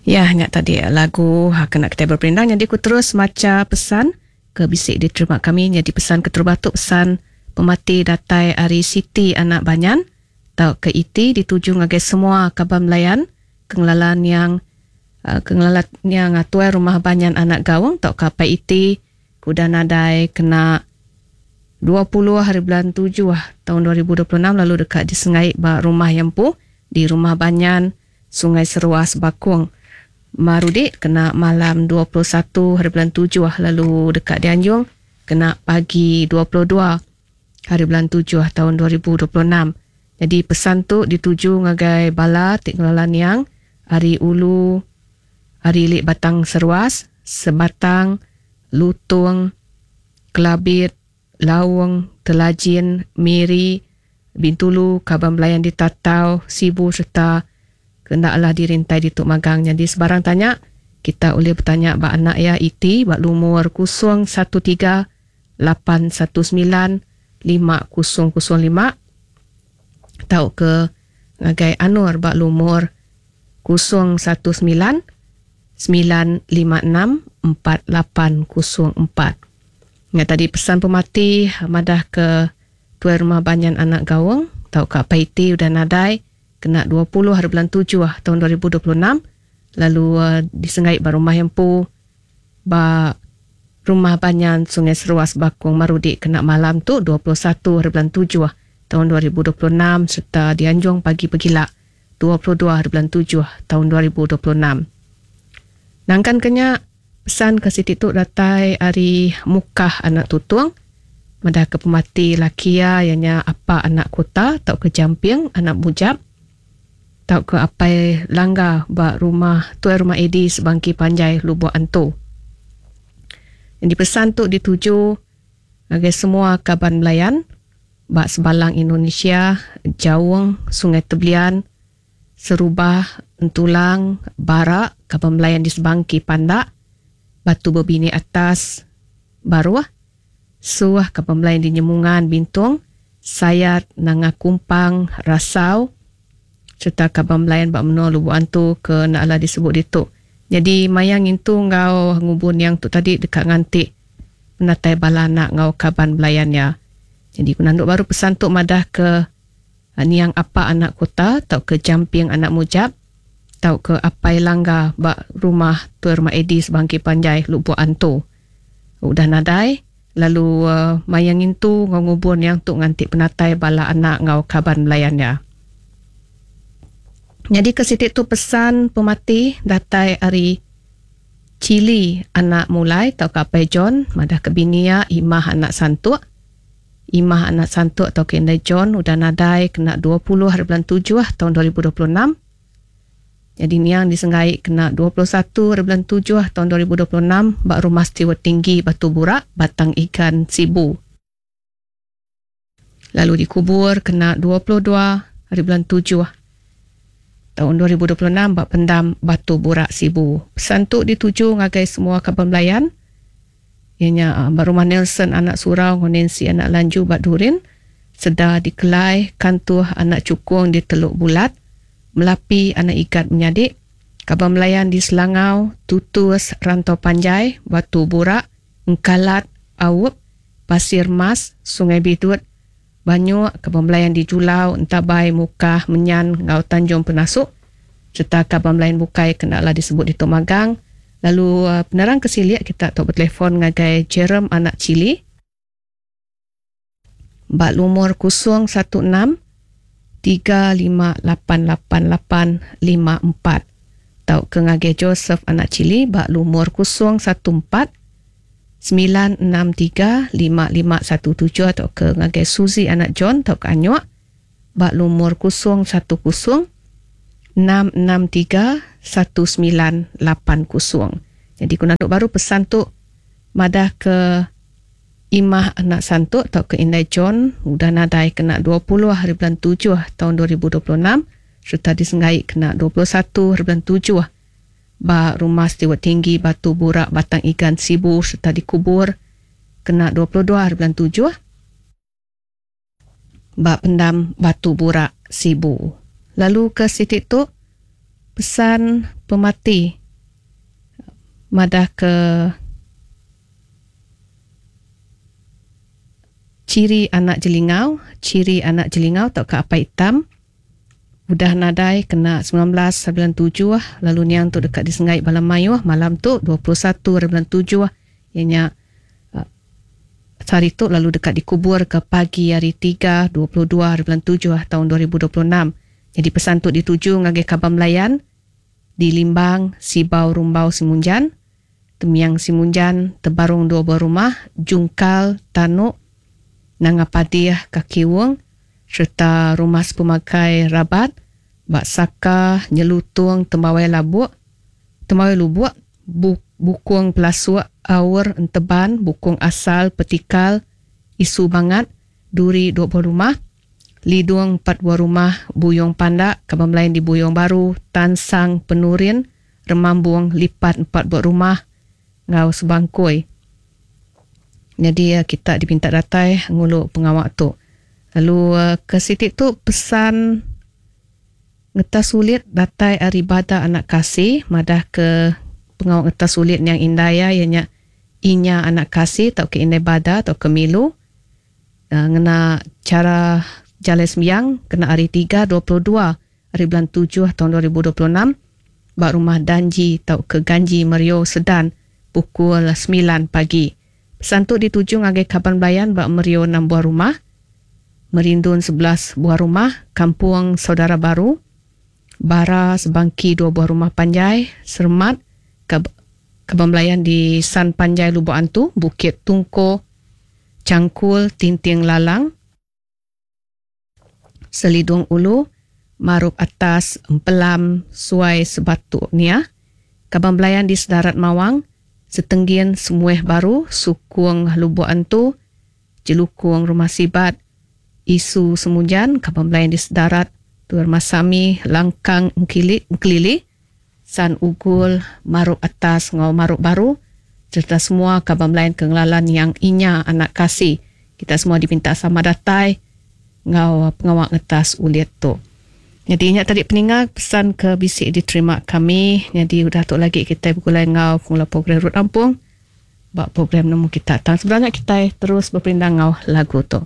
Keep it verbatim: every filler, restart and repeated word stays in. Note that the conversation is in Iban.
Ya, nya tadi lagu kena kita berperindang. Jadi aku terus maca pesan ke bisik diterima kami. Jadi pesan keterubah tu pesan pemati datai ari Siti anak Banyan tau ke iti dituju ngagai semua kaban belayan kengelalan yang uh, kengelalan yang tuai rumah Banyan anak Gaung tau ke apai iti kuda nadai kena dua puluh hari bulan tujuh tahun dua ribu dua puluh enam lalu dekat di Sengai ba rumah Yempu di rumah Banyan Sungai Seruas Bakung Marudi kena malam dua puluh satu hari bulan tujuh lalu dekat di Anjung kena pagi dua puluh dua hari bulan tujuh tahun dua ribu dua puluh enam. Jadi pesan tu dituju ngagai bala tik ngelalan yang ari ulu ari lik Batang Seruas, Sebatang, Lutung, Kelabit, Laung, Telajin, Miri, Bintulu, Kaban Belayan di Tatau, Sibu serta kendaklah dirintai di Tuk Magang. Jadi sebarang tanya kita boleh bertanya ba anak ya iti ba lumur kosong satu tiga lapan satu sembilan lima kosong kosong lima tau ke ngagai Anur ba lumur kosong satu sembilan sembilan lima enam empat lapan kosong empat. Ingat tadi pesan pemati madah ke tuai rumah Banyan anak Gaung tau ka Paiti udah nadai kena dua puluh hari bulan tujuh tahun dua ribu dua puluh enam lalu uh, disengai ba rumah Empu ba rumah Banyan Sungai Seruas Bakung Marudi kena malam tu dua puluh satu hari bulan tujuh tahun dua ribu dua puluh enam serta dianjung pagi pegila dua puluh dua hari bulan tujuh tahun dua ribu dua puluh enam. Nangkan kenya pesan ke siti tu datai ari Mukah anak Tutung madah ke pemati lakia ianya apa anak kota tau ke Jamping anak Bujap tau ke apai Langga ba rumah tuai rumah Edi Sebangki Panjai Lubuk Antu. Yang dipesan tu dituju ngagai semua kaban belayan ba Sebalang Indonesia, Jaung, Sungai Tebelian, Serubah, Entulang, Barak, kaban belayan di Sebangki Pandak, Batu Bebini Atas, Baruah, Suah, kaban belayan di Nyemungan, Bintung, Sayat, Nanga Kumpang, Rasau, serta kaban belayan bak menua Lubuk Antu ke nak ala disebut ditu. Jadi mayang itu ngau ngubun yang tu tadi dekat ngantik menatai bala anak ngau kaban belayannya. Jadi kunanduk baru pesan tu madah ke niang apa anak kota tau ke Jamping anak Mujab tau ke apai Langga bak rumah tuai rumah Edi Sebangki Panjai Lubuk Antu. Udah nadai lalu uh, mayang itu ngau ngubun yang tu ngantik penatai bala anak ngau kaban belayannya. Jadi ke situ tu pesan pemati datai ari Chili anak Mulai tau ke apai John madah ke binia Imah anak Santuk. Imah anak Santuk tau ke indai John udah nadai kena dua puluh hari bulan tujuh tahun dua ribu dua puluh enam. Jadi niang disenggai kena dua puluh satu hari bulan tujuh tahun dua ribu dua puluh enam bak rumah Stewart Tinggi Batu Burak Batang Ikan Sibu. Lalu dikubur kena dua puluh dua hari bulan tujuh tahun dua ribu dua puluh enam bak pendam Batu Burak Sibu. Pesan tu dituju ngagai semua kaban belayan. Ianya bak rumah Nelson anak Surau, Nancy anak Lanju bak Durin, Seda di Kelai, Kantuh anak Cukung di Teluk Bulat, Melapi anak Ikat Menyadik, kaban belayan di Selangau, Tutus, Rantau Panjai, Batu Burak, Engkalat, Awup, Pasir Mas, Sungai Bidut, Banyuk, kaban belayan di Julau, Entabai, Mukah, Menyan, Ngau Tanjung Penasuk, serta kaban belayan bukai kenaklah disebut di Tok Magang. Lalu penerang kesiliak kita tok bertelefon ngagai Jerem anak Chili bak lumur kosong satu enam tiga lima lapan lapan lapan lima empat tau ke ngagai Joseph anak Chili bak lumur kosong satu empat sembilan enam tiga lima lima satu tujuh atau ke ngagai Suzy anak John tau ke Anyuk bak lumur kosong satu kosong enam enam tiga satu sembilan lapan kosong. Jadi kunanduk baru pesan tu madah ke Imah anak Santuk atau ke Indai John udah nadai kena dua puluh hari bulan tujuh tahun dua ribu dua puluh enam serta disenggai kena dua puluh satu hari bulan tujuh ba rumah Stewart Tinggi Batu Burak Batang Igan Sibu serta dikubur kena dua puluh dua hari bulan tujuh ba pendam Batu Burak Sibu. Lalu ke sitik tu Pesan pemati madah ke ciri anak jelingau, ciri anak jelingau atau ke apa hitam udah nadai kena sembilan belas bulan tujuh, lalu niang tu dekat disengai bala mayuh malam tu dua puluh satu bulan tujuh ianya hari tu, lalu dekat dikubur ke pagi hari tiga dua puluh dua bulan tujuh tahun dua ribu dua puluh enam. Jadi pesan tu dituju ngagai Kaban Melayan di Limbang, Sibau Rumbau Simunjan, Temiang Simunjan, Tebarung dua buah rumah, Jungkal, Tanuk, Nanga Padih, Kaki Wong, serta rumah sepemakai Rabat, Bak Saka, Nyelutung, Tembawai Labuk, Tembawai Lubuk, Bukung Pelasuk, Aur, Enteban, Bukung Asal, Petikal, Isu Bangat, Duri dua buah rumah, Lidung empat buah rumah, Buyong Pandak, Kaban Melayan di Buyong Baru, Tansang, Penurin, Remambung, Lipat empat buah rumah, Ngau Sebangkui. Jadi kita dipinta datai ngulu pengawak tu. Lalu ke sitik tu pesan ngeta sulit datai ari bada anak kasih, madah ke pengawak ngeta sulit yang indaya ianya inya anak kasih atau ke indai bada atau ke milu. Uh, ngena cara jalai sembiang kena hari tiga dua puluh dua hari bulan tujuh tahun dua ribu dua puluh enam bak rumah Danji atau ke Ganji Merio Sedan pukul sembilan pagi. Pesan tu dituju ngagai Kaban Belayan bak Merio enam buah rumah, Merindun sebelas buah rumah, Kampung Saudara Baru, Bara Sebangki dua buah rumah panjai, Sermat, Kab- Kaban Belayan di San Panjai Lubuk Antu, Bukit Tungko, Cangkul, Tinting Lalang, Selidung Ulu, Marup Atas, Empelam, Suai Sebatu Nia, Kaban Belayan di Sedarat Mawang, Setenggin Semueh Baru, Sukung Lubuk Antu, Jelukung Rumah Sibat, Isu Semujan, Kaban Belayan di Sedarat, Tuar Masami, Langkang Engkili, Engkelili, San Ugul, Marup Atas, Ngau Marup Baru, serta semua Kaban Belayan Kengelalan yang inya anak kasih. Kita semua dipinta sama datai ngau pengawak ngetas ulit tu. Jadi ingat tadi peningat pesan ke bisik diterima kami. Jadi udah tu lagi kita bergulai ngau pengelola program Rut Ampung. Bak program nemu kita. Tang sebenarnya kita terus berperindang ngau lagu tu.